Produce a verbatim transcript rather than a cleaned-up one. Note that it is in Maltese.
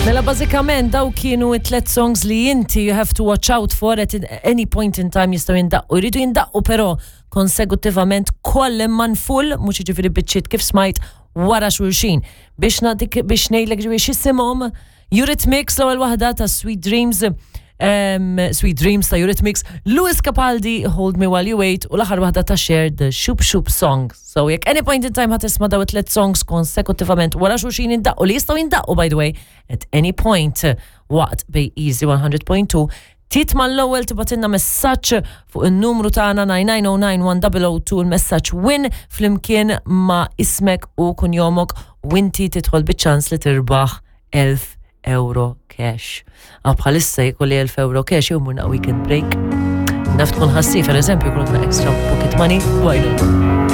Mela bażikament daw kienu it-tlet songs li inti you have to watch out for at any point in time jistgħu jindaqqu. Jridu jindaqqu però konsekutivament koll man full, mhux jiġifieri biċċiet kif smajt wara xulxin. Biex nagħtik biex ngħidlek ġifieri x'isimhom Eurythmics l-ewwel waħda ta' Sweet Dreams um, Sweet Dreams ta' Eurythmics, Lewis Capaldi, Hold Me While You Wait, u l-aħħar waħda ta' Cher The Shoop Shoop Song. So jekk any point in time ħa tisma' daw it-tlet songs konsekutivament wara xulxin jindaqqu li jistgħu jindaqqu by the way at any point waqt bej Easy one hundred point two, tit mal-ewwel tibgħatilna messaġġ fuq in-numru tagħna nine nine zero nine one zero zero two, il-messaġġ "win" flimkien ma' ismek u kunjomok u inti tidħol biċ-ċans li tirbaħ elf euro cash. Ah, bħalissa jkolli elf euro cash jew murna weekend break. Naf tkun ħassi, per eżempju, jkun extra pocket money, why not?